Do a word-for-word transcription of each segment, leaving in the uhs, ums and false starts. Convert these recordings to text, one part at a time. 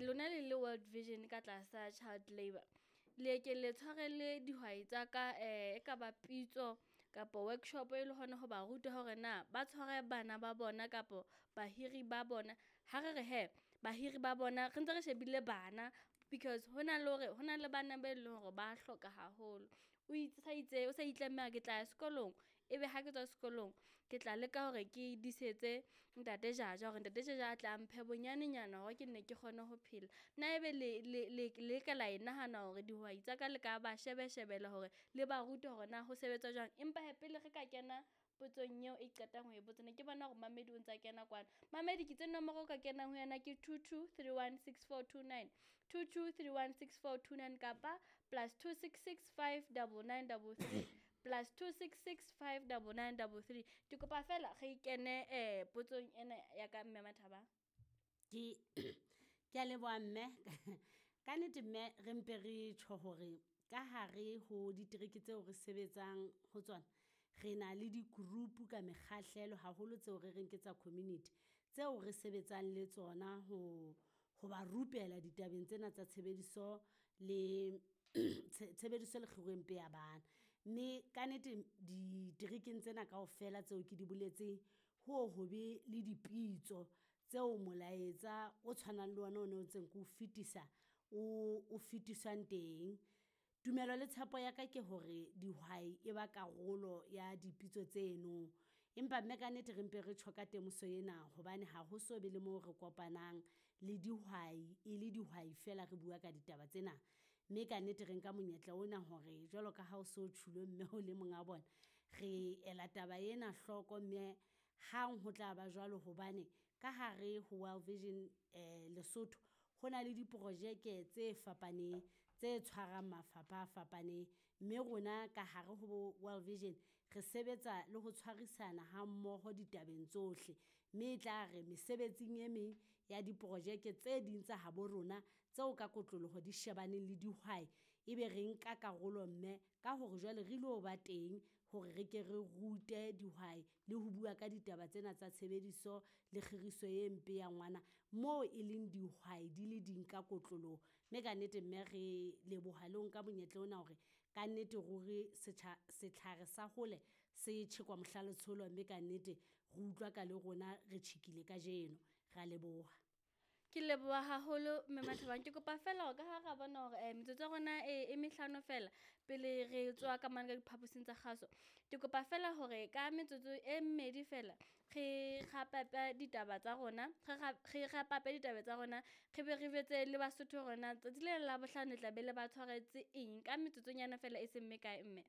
Lona le le World Vision ka tlasa Child Labour, le ke le tshwarele dihwai tsa ka e ka ba pitso kapa workshop e le hona ho ba ruta hore na ba tshware bana ba bona kapa bahiri ba bona. Ha re re he bahiri ba bona re ntse re shebile bana, because hona le hore hona le bana be leng hore ba hloka haholo. O sa itse o sa itlamme ke tla ya sekolong, ebe ha ke tswa sekolong, ke tla leka hore ke disetse ntate Jaja hore ntate Jaja a tla mphe bonyanenyana hore ke nne ke kgone ho phela. Na ebe le le le le ka la e nahana hore dihwai tsa ka le ka ba shebe shebela hore le ba rute hore na ho sebetsa jwang? Empa hee pele re ka kena potsong eo e qetang ho e botsa, ne ke bona hore mamedi o ntsa kena kwana. Mamedi ke itse nomoro o ka kenang ho yona ke two two three one six four two nine, two two three one six four two nine kapa plus two six six five double nine double three, plus two six six five double nine double three. Ke kopa feela re kene eh potsong ena ya ka mme Mathaba. Ke ke a leboha mme. Ka nnete mme re mpe re tjho hore ka hare ho ditereke tseo re sebetsang ho tsona, re na le di-group ka mekgahlelo haholo tseo re reng ke tsa community. Tseo re sebetsang le tsona ho ho ba rupela ditabeng tsena tsa tshebediso le tshebediso le kgiro e mpe ya bana. Mme ka nnete diterekeng tsena kaofela tseo ke di boletseng, ho ho be le dipitso tseo molaetsa o tshwanang le ona o ntseng ko fetisa, o o fetiswang teng. Tumelo le tshepo ya ka ke hore dihwai e ba karolo ya dipitso tseno, empa mme ka nnete re mpe re tjho ka temoso ena hobane ha ho so be le mo re kopanang le dihwai e le dihwai feela re bua ka ditaba tsena. Mme ka nnete re nka monyetla ona hore jwalo ka ha o so tjhulo mme o le monga bona, re ela taba ena hloko mme hang ho tla ba jwalo hobane ka hare ho World Vision Lesotho, ho na le diprojeke tse fapaneng tse tshwarang mafapha a fapaneng. Mme rona ka hare ho World Vision re sebetsa le ho tshwarisana ha mmoho ditabeng tsohle, mme e tla re mesebetsing e meng ya diprojeke tse ding tsa habo rona tseo ka kotloloho di shebaneng le dihwai, e be re nka karolo mme ka hore jwale re ilo ba teng hore re ke re rute dihwai le ho bua ka ditaba tsena tsa tshebediso le kgiriso e mpe ya ngwana. Moo e leng dihwai di le ding ka kotloloho, mme ka nnete mme re leboha le ho nka monyetla ona hore ka nnete ruri setjha setlhare sa hole se tjhekwa mohla letsholo, mme ka nnete re utlwa ka le rona re tjhekile kajeno, rea leboha. Ke leboha haholo mme Mathabang. Ke kopa feela hore ka ha ra bona hore metsotso ya rona e e mehlano feela pele re tswa ka mane ka diphaposing tsa kgaso. Ke kopa feela hore ka metsotso e mmedi feela re kgapape ditaba tsa rona, re re ditaba tsa rona, re be re jwetse le Basotho hore na tsatsi le la Labohlano le tla be le ba tshwaretse eng ka metsotsonyana feela e seng mekae mme.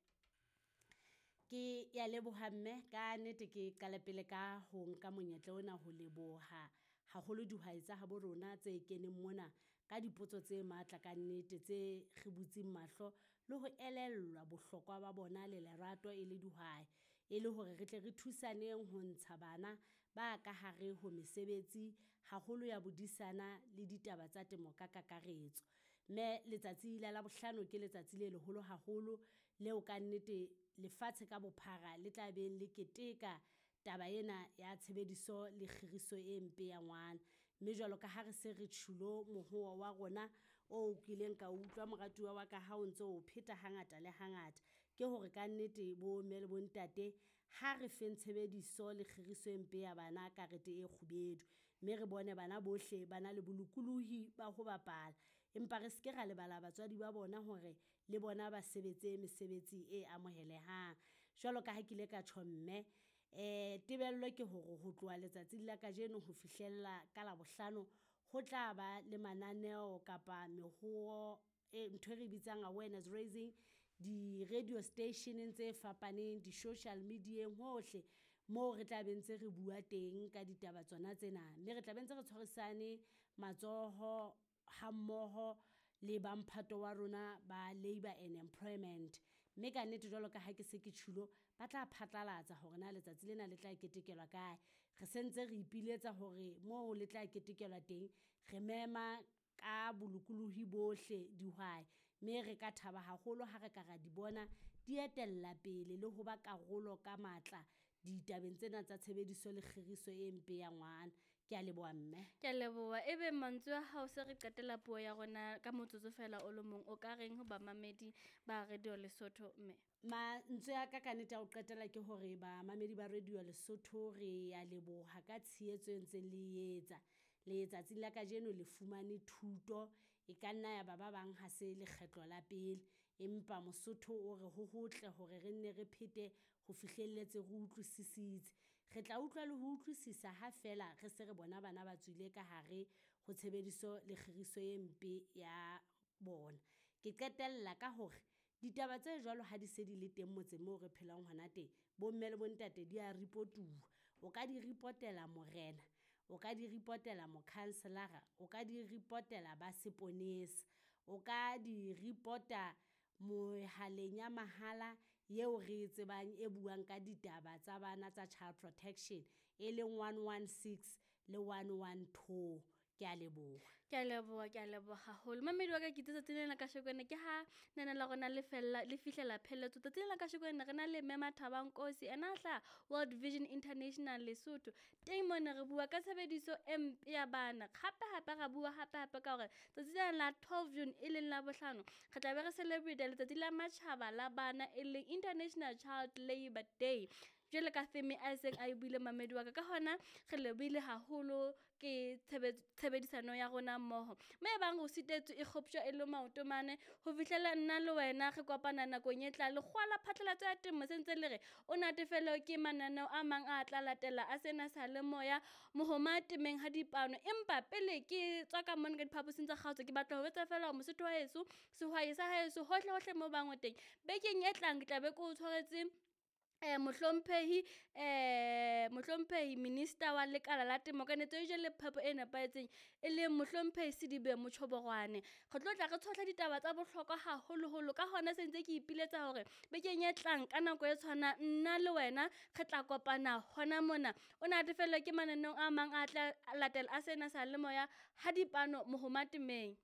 Ke ya leboha mme ka nnete ke qale pele ka ho nka monyetla ona ho leboha haholo dihwai tsa habo rona tse keneng mona ka dipotso tse matla ka nnete tse re butseng mahlo le ho elellwa bohlokwa ba bona le lerato e le dihwai. E le hore re tle re thusaneng ho ntsha bana ba ka hare ho mesebetsi haholo ya bodisana le ditaba tsa temo ka kakaretso. Mme letsatsi la Labohlano ke letsatsi le leholo haholo leo ka nnete lefatshe ka bophara le tla beng le keteka taba ena ya tshebediso le kgiriso e mpe ya ngwana. Mme jwalo ka ha re se re tjhulo mohowo wa rona o kileng ka utlwa moratuwa wa ka ha o ntso o pheta ha ngata le ha ngata. Ke hore ka nnete bo mme le bo ntate ha re feng tshebediso le kgiriso e mpe ya bana karete e kgubedu. Mme re bone bana bohle ba na le bolokolohi ba ho bapala, empa re seke ra lebala batswadi ba bona hore le bona ba sebetse mesebetsi e amohelehang. Jwalo ka ha ke ile ka tjho mme tebello ke hore ho tloha letsatsing la kajeno ho fihlella ka Labohlano, ho tla ba le mananeo kapa mehowo e ntho e re bitsang awareness raising, di-radio station-eng tse fapaneng, di-social media-eng hohle moo re tla be ntse re bua teng ka ditaba tsona tsena. Mme re tla be ntse re tshwarisane matsoho ha mmoho le ba mphato wa rona ba Labour and Employment. Mme ka nnete jwalo ka ha ke se ke tjhulo, ba tla phatlalatsa hore na letsatsi lena le tla ketekelwa kae. Re sentse re ipiletsa hore moo le tla ketekelwa teng, re mema ka bolokolohi bohle dihwai. Mme re ka thaba haholo ha re ka ra di bona di etella pele le ho ba karolo ka matla ditabeng tsena tsa tshebediso le kgiriso e mpe ya ngwana. Ke a leboha mme. Ke a leboha. Ebe mantswe a hao se re qetela puo ya rona ka motsotso fela o le mong, o ka reng ho bamamedi ba Radio Lesotho mme? Mantswe a ka ka nnete ya ho qetela ke hore bamamedi ba Radio Lesotho re ya leboha ka tshehetso e ntseng le etsa. Letsatsing la kajeno le fumane thuto, e ka nna ya ba ba bang ha se lekgetlo la pele. Empa Mosotho o re ho hotle hore re nne re phete ho fihlelletse re utlwisisitse. Re tla utlwa le ho utlwisisa ha feela re se re bona bana ba tswile ka hare ho tshebediso le kgiriso e mpe ya bona. Ke qetella ka hore ditaba tse jwalo ha di se di le teng motseng moo re phelang hona teng, bo mme le bo ntate di ya report-uwa. O ka di report-ela morena, o ka di report-ela mokhanselara, o ka di report-ela ba seponesa, o ka di report-a mohaleng ya mahala eo re e tsebang e buang ka ditaba tsa bana tsa child protection, e leng one one six le one one two. Ke a leboha. Ke a leboha, ke a leboha haholo. Mamedi wa ka ke itse tsatsi lena la kasheko ena ke ha lena la rona le fella le fihlela pheletso. Tsatsi lena la kasheko ena re na le Mme Mathaba Nkosi, ena a hlaha World Vision International Lesotho. Teng mona re bua ka tshebediso e mpe ya bana. Hape hape ra bua hape hape ka hore tsatsi lena la twelve June e leng la bohlano, re tla be re celebrate letsatsi la matjhaba la bana e leng International Child Labour Day. Jwale ka theme a seng a e buile mamedi wa ka, ka hona re lebohile haholo ke tshebedisano ya rona mmoho. Mme e bang o sitetswe e kgoptjwa e le maoto mane ho fihlela nna le wena re kopana nakong e tlang. Lekgowa la phatlalatso ya temo se ntse le re o natefelwe ke mananeo a mang a tla latela a sena sa le moya mohoma temeng ha dipano. Empa pele ke tswa ka mona ka diphaposing tsa kgaotso, ke batla ho jwetsa feela hore Mosotho wa heso, sehwai sa heso, hohle hohle moo bang o teng. Bekeng e tlang ke tla be ke o tshwaretse mohlomphehi mohlomphehi Minister wa Lekala la Temo, Kanetso e le phepo e nepahetseng, e leng mohlomphehi Sedibe Motjhoborwane. Re tlo tla re tshohla ditaba tsa bohlokwa haholoholo. Ka hona se ntse ke ipiletsa hore bekeng e tlang ka nako e tshwanang nna le wena re tla kopana hona mona. O natefelwe ke mananeo a mang a tla latela a sena sa le moya ha dipano mohoma temeng.